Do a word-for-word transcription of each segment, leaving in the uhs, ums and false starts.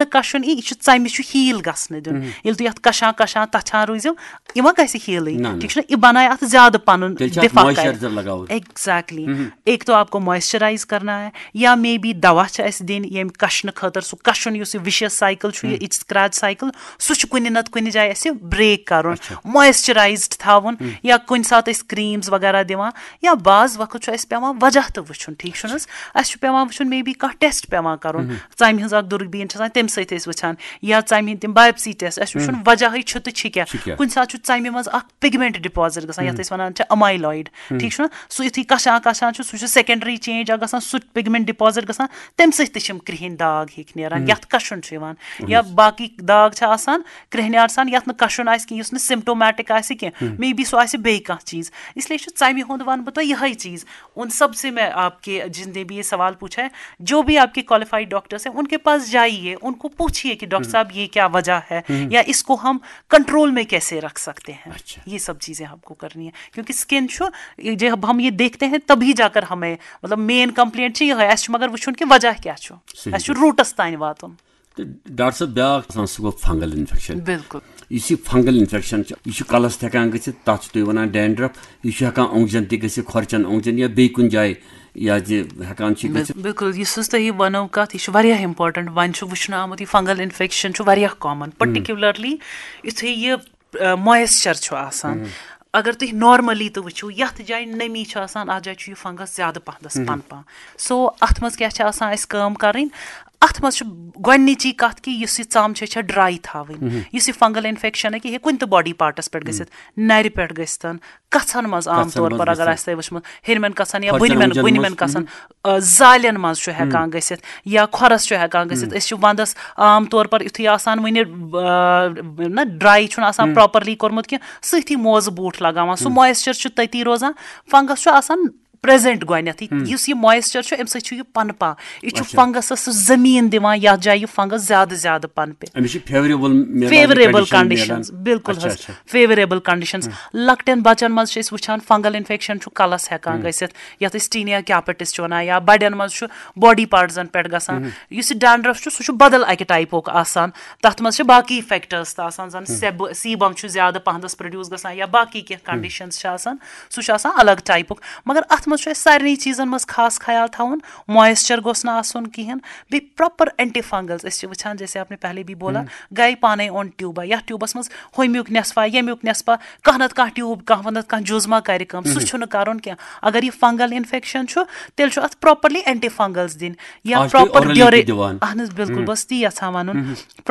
نہٕ کَشُن یی، یہِ چھُ ژَمہِ چھُ ہیٖل گژھنہٕ دیُن۔ ییٚلہِ تُہۍ اَتھ کَشان کَشان تَچھان روٗزِو، یہِ ما گژھِ ہیٖلٕے؟ نہ، نہ۔ ٹھیٖک چھُنہ؟ یہِ بَنایہِ اَتھ زیادٕ پَنُن تیٚلہِ چھِ اَتھ دِفاع کَرِ۔ Moisturizer لگاوُن۔ Exactly۔ ایک تو آپ کو moisturize کرنا ہے، یا مے بی دوا چھِ اَسہِ دِنۍ ییٚمہِ کَشنہٕ خٲطرٕ، سُہ کَشُن یُس یہِ vicious cycle چھُ، یہِ itch scratch cycle، سُہ چھُ کُنہِ نَتہٕ کُنہِ جایہِ اَسہِ break کَرُن۔ Moisturized تھاوُن، یا کُنہِ ساتہٕ أسۍ creams وغیرہ دِوان، یا بعض وقت چھُ اَسہِ پٮ۪وان وجہ تہِ وٕچھُن، ٹھیٖک چھُنہٕ حظ؟ اَسہِ چھُ پٮ۪وان وٕچھُن، مے بی کانٛہہ test پٮ۪وان کَرُن، ژَمہِ ہٕنٛز اَکھ دوٗربیٖن چھِ آسان، تَمہِ سۭتۍ ٲسۍ وٕچھان، یا ژَمہِ ہٕنٛدۍ تِم biopsy test، اَسہِ چھُ وٕچھُن وجہٕے چھُ تہٕ چھِ کیٛاہ۔ چھِ کیٛاہ؟ کُنہِ ساتہٕ چھُ ژَمہِ منٛز اَکھ pigment deposit گژھان، یَتھ أسۍ وَنان چھِ amyloid، ٹھیٖک چھُنہ؟ سُہ یُتھُے کَشان کَشان چھُ، سُہ چھُ secondary change اَکھ گژھان، سُہ pigment deposit گژھان، تَمہِ سۭتۍ تہِ چھِ یِم کرٛہِنۍ داغ ہِکھ نیران، یَتھ کَشُن چھُ یِوان۔ یا باقٕے داغ چھِ آسان، کرٛہنیار سان، یَتھ نہٕ کَشُن آسہِ کینٛہہ، یُس نہٕ symptomatic آسہِ کینٛہہ، مے بی سُہ آسہِ بیٚیہِ کانٛہہ چیٖز۔ اس لیے چھُ ژَمہِ ہُنٛد وَنہٕ بہٕ تۄہہِ یِہوٚے چیٖز۔ ان سب سے میں آپ کے، جتنے بھی یہ سوال پوچھا ہے، جو بھی آپ کے qualified doctors ہیں، ان کے پاس جائیے، ان کو پوچھیے کہ ڈاکٹر صاحب، یہ کیا وجہ ہے، یا اس کو ہم کنٹرول میں کیسے رکھ سکتے ہیں۔ اچھا۔ یہ سب چیزیں آپ کو کرنی ہے، کیونکہ اسکن چھُ، یہ جب ہم یہ دیکھتے ہیں، تبھی جا کر ہمیں، مطلب، مین کمپلینٹ چھِ یِہوٚے، اَسہِ چھُ مگر وٕچھُن کہِ وجہ کیٛاہ چھُ۔ صحیح۔ اَسہِ چھُ روٗٹَس تام واتُن۔ تہٕ ڈاکٹر صٲب، بیٛاکھ آسان، سُہ گوٚو fungal infection۔ بِلکُل۔ یُس یہِ fungal infection چھُ، یہِ چھُ کَلَس تہِ ہٮ۪کان گٔژھِتھ، تَتھ چھُ تُہۍ وَنان dandruff، یہِ چھُ ہٮ۪کان اوٚنٛگجَن تہِ گٔژھِتھ، کھۄرچَن اوٚنٛگجَن یا بیٚیہِ کُنہِ جایہِ، یا زِ ہٮ۪کان چھِ گٔژھِتھ۔ بِلکُل، یُس حظ تۄہہِ یہِ وَنو کَتھ، یہِ چھُ واریاہ important۔ وۄنۍ چھُ وٕچھنہٕ آمُت، یہِ fungal infection چھُ واریاہ common، particularly یُتھُے یہِ، آ، moisture چھُ آسان۔ اگر تُہۍ normally تہِ وٕچھِو، یَتھ جایہِ نمی چھِ آسان، اَتھ جایہِ چھُ یہِ fungus زیادٕ پَہنَس پَنپان۔ So، اَتھ منٛز کیٛاہ چھِ آسان اَسہِ کٲم کَرٕنۍ؟ اَتھ منٛز چھُ گۄڈٕنِچی کَتھ کہِ یُس یہِ ژَم چھِ، یہِ چھےٚ dry تھاوٕنۍ۔ یُس یہِ fungal infection ہیٚکہِ، یہِ ہیٚکہِ کُنہِ تہِ body partَس پٮ۪ٹھ گٔژھِتھ، نَرِ پٮ۪ٹھ گٔژھِتھ، کَژھَن منٛز عام کَژھَن طور منٛز پر اگر گٔژھِتھ۔ آسہِ تۄہہِ وٕچھمُت، ہیٚرمٮ۪ن کَژھَن یا کھۄرچَن بٔنمٮ۪ن، وٕنجَن بٔنمٮ۪ن منٛز۔ کَژھَن، آ، زالٮ۪ن منٛز چھُ ہٮ۪کان گٔژھِتھ یا کھۄرَس چھُ ہٮ۪کان گٔژھِتھ۔ أسۍ چھِ وَنٛدَس عام طور پر یُتھُے آسان وٕنہِ، آ، نہ dry چھُنہٕ آسان properly کوٚرمُت کینٛہہ، سۭتھی موزٕ بوٗٹھ لگاوان، سُہ moisture چھُ تٔتی روزان، fungus چھُ آسان present گۄڈٕنیتھٕے۔ یُس یہِ moisture چھُ، اَمہِ سۭتۍ چھُ یہِ پنپان، یہِ چھُ اچھا۔ Fungusس سُہ زٔمیٖن دِوان، یَتھ جایہِ یہِ fungus زیادٕ زیادٕ پنپہِ۔ أمِس چھِ favourable میلان، favourable condition conditions، میلان۔ بِلکُل اچھا، حظ، اچھا۔ Favourable conditions۔ لۄکٹٮ۪ن بَچَن منٛز چھِ أسۍ وٕچھان fungal infection چھُ کَلَس ہٮ۪کان گٔژھِتھ، یَتھ أسۍ tinea capitis چھِ وَنان، یا بَڑٮ۪ن منٛز چھُ body partsن پٮ۪ٹھ گژھان۔ یُس یہِ dandruff چھُ، سُہ چھُ بدل اَکہِ typeُک آسان۔ تَتھ منٛز چھِ باقٕے factors تہِ آسان، زَن سیب-، sebum چھُ زیادٕ پَہنَس produce گژھان یا باقٕے کینٛہہ conditions چھِ آسان، سُہ چھُ آسان الگ typeُک۔ مگر اَتھ منٛز چھُ اَسہِ سارنٕے چیٖزَن منٛز خاص خیال تھاوُن، moisture گوٚژھ نہٕ آسُن کِہیٖنۍ، بیٚیہِ proper antifungals۔ أسۍ چھِ وٕچھان، جیسے آپ نے پہلے بھی بولا، گٔے پانَے اوٚن ٹیوٗبا، یَتھ ٹیوٗبَس منٛز ہُمیُک نٮ۪صفا، ییٚمیُک نٮ۪صفا، کانٛہہ نَتہٕ کانٛہہ ٹیوٗب، کانٛہہ نَتہٕ کانٛہہ جُز ما کَرِ کٲم، سُہ چھُنہٕ کَرُن کینٛہہ۔ اگر یہِ fungal infection چھُ، تیٚلہِ چھُ اَتھ properly antifungals دِنۍ۔ یا آز چھِ تُہۍ proper orally تہِ dura-، دِوان۔ اہن حظ، بِلکُل، بہٕ ٲسٕس تی یَژھان وَنُن۔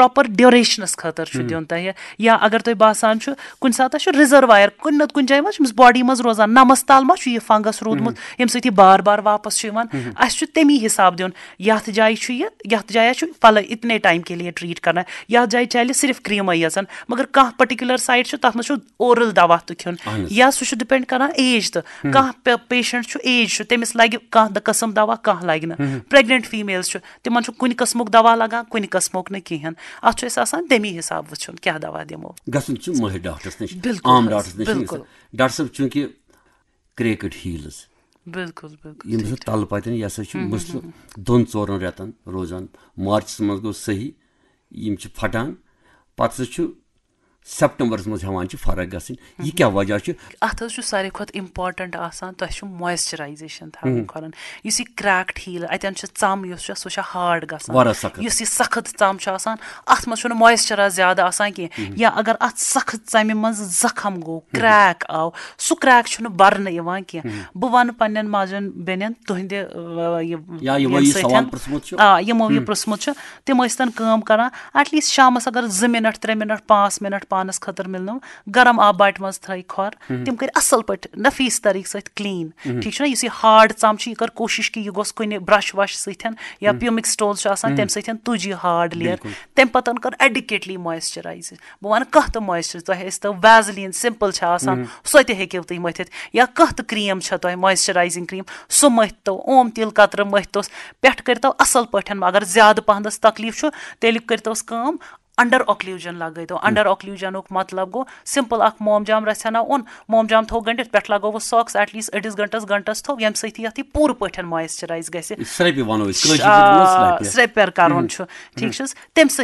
Proper durationس خٲطرٕ چھُ دیُن تۄہہِ۔ یا اگر تۄہہِ باسان چھُ، کُنہِ ساتہٕ چھُ reservoir کُنہِ نَتہٕ کُنہِ جایہِ ما چھُ أمِس body منٛز روزان، نَمَس تَل ما چھُ یہِ fungus روٗدمُت، ییٚمہِ سۭتۍ یہِ بار بار واپَس چھُ یِوان۔ اَسہِ چھُ تَمی حِساب دیُن، یَتھ جایہِ چھُ یہِ، یَتھ جایہِ چھُ فَلٲ-، اتنے time کے لیے treat کرنا، یَتھ جایہِ چَلہِ صرف creamٕے یٲژَن، مگر کانٛہہ particular site چھُ، تَتھ منٛز چھُ oral دوا تہِ کھیوٚن۔ اہن حظ۔ یا سُہ چھُ depend کران age تہٕ۔ کانٛہہ پے-، patient چھُ، age چھُ، تٔمِس لَگہِ کانٛہہ دَ-، قٕسم دوا، کانٛہہ لَگہِ نہٕ۔ Pregnant females چھُ، تِمن چھُ کُنہِ قٕسمُک دوا لگان، کُنہِ قٕسمُک نہٕ کِہیٖنۍ۔ اَتھ چھُ اَسہِ آسان تَمی حِساب وٕچھُن کیٛاہ دوا دِمو۔ گژھُن چھُ مٲہِر ڈاکٹرس نِش، بِلکُل عام حظ، ڈاکٹرس نِش چھُنہٕ بِلکُل۔ گژھُن۔ ڈاکٹر صٲب، چوٗنٛکہِ cracked heels، بِلکُل، بِلکُل، یِم ٹھیٖک، ہسا ٹھیٖک۔ تَلہٕ پَتٮ۪ن، یہِ ہسا چھُ مُسلہٕ دۄن ژورَن رٮ۪تَن روزان۔ مارچَس منٛز گوٚو صحیح، یِم چھِ پھٹان، پَتہٕ ہسا چھُ سیپٹمبرس منٛز ہٮ۪وان چھِ فرق گژھٕنۍ۔ یہِ کیٛاہ وجہ چھُ؟ اَتھ حظ چھُ ساروی کھۄتہٕ important آسان، تۄہہِ چھُ moisturization تھاوٕنۍ کھۄرَن۔ یُس یہِ cracked heel، اَتٮ۪ن چھِ ژَم یُس چھےٚ، سۄ چھےٚ hard گژھان۔ واریاہ سخت۔ یُس یہِ سخت ژَم چھِ آسان، اَتھ منٛز چھُنہٕ moisture زیادٕ آسان کینٛہہ۔ یا اگر اَتھ سخت ژَمہِ منٛز زخم گوٚو، crack آو، سُہ crack چھُنہٕ بَرنہٕ یِوان کینٛہہ۔ بہٕ وَنہٕ پنٛنٮ۪ن ماجٮ۪ن بیٚنٮ۪ن تُہٕنٛدِ، آ، یہِ، یا یِمو ییٚمہِ یہِ سۭتۍ سوال پرٛژھمُت چھُ۔ آ، یِمو یہِ پرٛژھمُت چھُ، تِم ٲسۍ تَن کٲم کَران، at least شامَس اگر زٕ مِنَٹ، ترٛےٚ مِنَٹ، پانٛژھ مِنَٹ پانَس خٲطرٕ مِلنو، گرم آبہٕ باٹہِ منٛز تھٲے کھۄر، تِم کٔرۍ اَصٕل پٲٹھۍ نفیٖس طریٖقہٕ سۭتۍ clean۔ ٹھیٖک چھُنہ؟ یُس یہِ hard ژَم چھُ، یہِ کٔر کوٗشِش کہِ یہِ گوٚژھ کُنہِ brush وَش سۭتۍ یا pumic stone چھُ آسان، تَمہِ سۭتۍ تُج یہِ hard layer۔ بِلکُل۔ تَمہِ پَتہٕ کٔر adequately moisturize۔ بہٕ وَنہٕ کانٛہہ تہِ moisturize، تۄہہِ ٲسۍ تو Vaseline simple چھِ آسان، سۄ تہِ ہیٚکِو تُہۍ مٔتھِتھ، یا کانٛہہ تہِ cream چھےٚ تۄہہِ moisturizing cream، سُہ مٔتھۍ تو، اوم تیٖل قطرٕ مٔتھۍ توس، پٮ۪ٹھٕ کٔرۍ تو اَصٕل پٲٹھۍ، اگر زیادٕ پَہنَس تکلیٖف چھُ، تیٚلہِ کٔرۍ توس کٲم، under occlusion لگٲے تو۔ Under occlusionُک مطلب گوٚو simple اکھ موم جام رژھِ ہنا اوٚن، موم جام تھوٚو گٔنڈِتھ، پٮ۪ٹھٕ لگووُس socks، at least أڑِس گھنٹس، گھنٹس تھوٚو، ییٚمہِ سۭتۍ یہِ اَتھ یہِ پوٗرٕ پٲٹھۍ moisturize گژھِ۔ سرٛپہِ وَنو أسۍ، کٲشِر پٲٹھۍ وَنو آ، سرٛپہِ۔ سرٛپہِ کَرُن چھُ، ٹھیٖک چھُ حظ؟ تَمہِ سۭتۍ